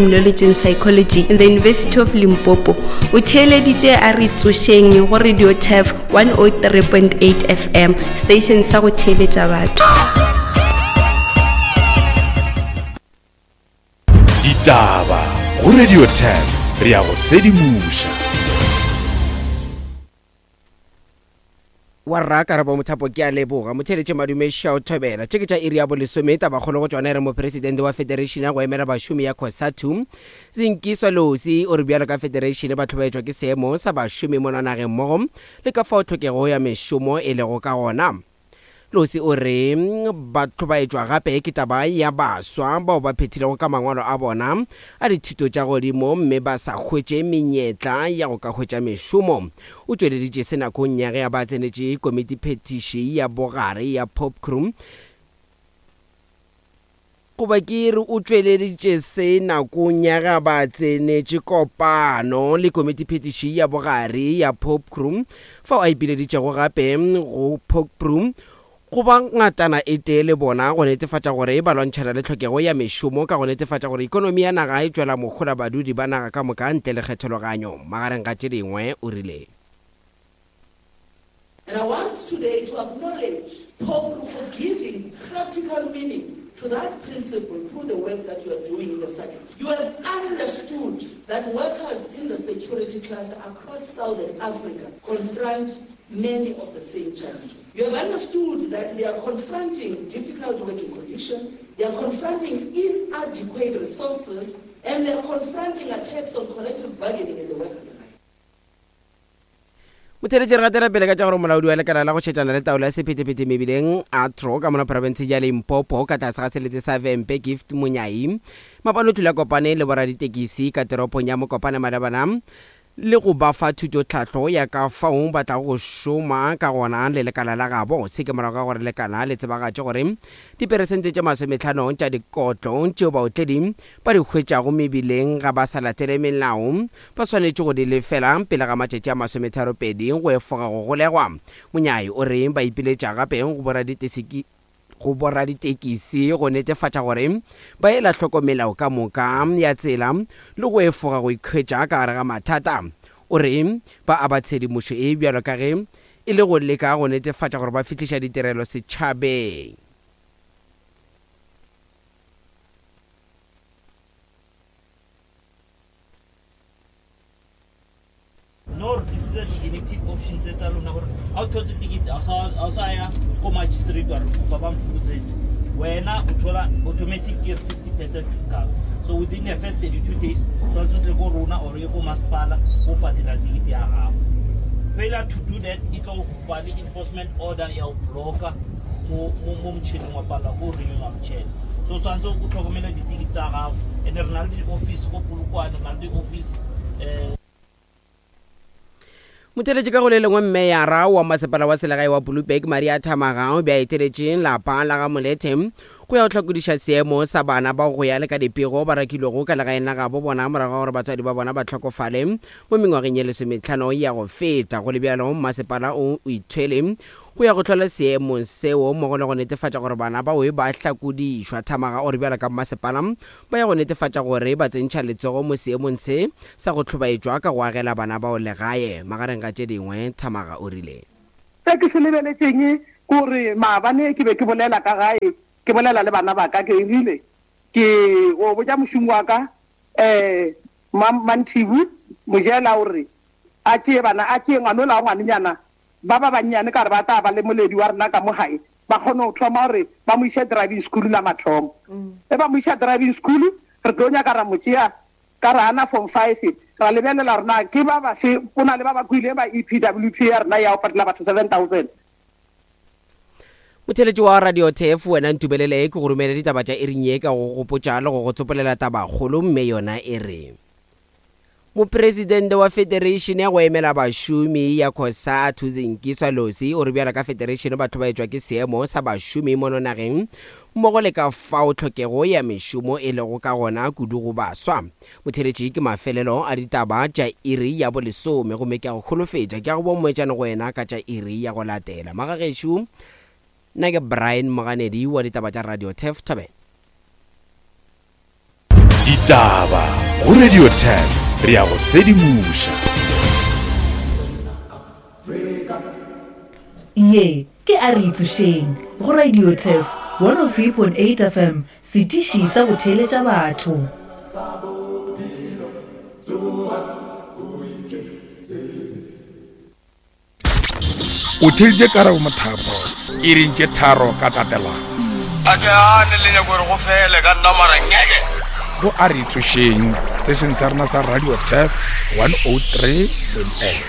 Criminology and Psychology in the University of Limpopo. O theeleditše a re tsošeng go Radio Turf 103.8 FM, station sa go theeletša batho. Ditaba go Radio Turf re ya go sedimoša. Wa rra Karabo Mothapo ke a leboga. Motheeletše Madume Shao Thobela. Tše ke tša iri ya bolesome tabakgolo go tšona e re Mopresidente wa Federation ya go emela bašomi ya Cosatu, Zingiswa Losi o re bjalo ka federation ba hlobaetšwa ke seemo sa bašomi mono nageng mmogo le ka fao tlhokego ya mešomo e lego ka gona. Losi o re ba hlobaetšwa gape ke taba ya baswa bao ba phethilego ka mangwalo a bona a dithuto tša godimo mme ba sa hwetše menyetla ya go ka hwetša mešomo. O tšweleditše se nakong ya ge a ba tsenetše komitiphethiši ya bogare ya Popcru Goba ke re o tšweleditše se nakong ya ge ba tsenetše kopano le komitiphethiši ya bogare ya Popcru, fao a ipileditšego gape go Popcru go ba ngatana e tee le bona go netefatša gore ba lwantšhana le tlhokego ya mešomo ka go netefatša gore ikonomi ya naga e tšwela mohola badudi ba naga ka moka ntle le kgethologanyo. Magareng ga tše dingwe, o rile. And I want today to acknowledge Popcru for giving practical meaning to that principle through the work that you are doing in the SADC. You have understood that workers in the security cluster across Southern Africa confront many of the same challenges. You have understood that they are confronting difficult working conditions, they are confronting inadequate resources, and they are confronting attacks on collective bargaining and the workers' rights. Motheeletši re gatela pele ka tša gore molaodi wa lekala la go šetšana le taolo ya sephethephethe mebileng ATRO ka mona profenseng ya Limpopo ka tlase ga selete sa Vhembe Gift Monyai mapano o tlile a kopane le boraditekisi ka teropong ya Mokopane malebana le go ba fa thutotlhahlo ya ka fao ba tlago go šoma ka gona le lekala la gabo. Se ke morago ga gore lekala le tsebagatše gore diperesente tše masometlhano tša dikotlo tšeo baotledi ba di hwetšago mebileng ga ba sa latele melao Ba swanetše go di lefela pele ga matšatši a masometharopedi go efoga go golegwa. Monyai o re ba ipiletša gape go go boraditekisi go netefatša gore ba ela hloko melao ka moka ya tsela le go efoga go ikhwetša ka gare ga mathata. O re ba aba tshedimošo e bjalo ka ge e le go leka go netefatša gore ba fihliša ditirelo setšhabeng. No re tlisitse di-inactive option tse tsa lona gore ga o thotse ticket ga o sa ya ko magistrate wa re kopa ba mfokotsetse wena o thola automatic ke 50 percent discount so within the first 32 days tshwanetse o tle ko rona or ye ko masepala o patela ticket ya gago failure to do that e tlo ba le enforcement order ya go blocka mo mo motšhineng wa palelwa ko renewa motšhene so tshwanetse o tlhokomele ditikiti tsa gago and re na le di-office ko polokwane re na le di-office um Motheletši ka go le lengwe Mmeyara wa masepala wa selegae wa Blouberg Maria Thamaga o be a eteletše lapa la ga Molethe go ya go hlakodiša seemo sa bana bao go ya le ka dipego ba rakilwego ka legaeng la gabo bona morago ga gore batswadi ba bona ba hlokofale mo mengwageng ye lesometlhano ya go feta. Go le bjalo, mmasepala o ithwele go ya go hlola seemo seo mmogo le go netefatša gore bana bao ba hlakodišwa. Thamaga o re bjalo ka mmasepala ba ya go netefatša gore ba tsentšha letsogo mo seemong se sa go hlobaetšwa ka go agela bana bao legae. Magareng ga tše dingwe, Thamaga o rile. Se ke se lebeletšeng ke gore maabane ke be ke bolela ka gae, ke bolela le bana ba ka, ke rile ke go botša mošomi wa ka um Manthibu Mojela o re a tšee bana, a tšee ngwanola wa ngwanenyana ba ba bannyane ka gore ba tla ba le moledi wa rena ka mo gae, ba kgone go thoma gore ba mo iše driving school la mathomo. Ge ba mo iša driving school, re tlo nyaka ra mo tšea ka re ana form five, ra lebelela gore na ke ba bafe, go na le ba ba kwile ba EPWP ya rena ya go patela batho 7000. Motheeletši wa Radio Turf, wena ntumelele ke go romele ditaba tša iring ye ka go gopotša le go go tsopolela tabakgolo mme yona e re Mopresidente wa Federation ya go emela bašomi ya Cosatu Zingiswa Losi o re bjalo ka federation ba hlobaetšwa ke seemo sa bašomi mono nageng mmogo le ka fao tlhokego ya mešomo e lego ka gona kudu go baswa. Motheeletši ke mafelelo a ditaba tša iri ya bolesome gomme ke a go holofetša ke a go bomoetšane go wena ka tša iri ya go latela. Magagešo, nna ke Brian Moganedi wa ditaba tša Radio Turf Thobela. Ditaba go Radio 10 re ya go sedimoša. Ye ke a re itsošeng go Radio Turf 103.8 FM, setiši sa go theeletša batho. O theeditše Karabo Mothapo iring tše tharo ka tatelano. A ke gane le nyako gore go fele ka nna mara ngeke. Go a re tsošeng seteisheng sa rena sa Radio Turf 103.8.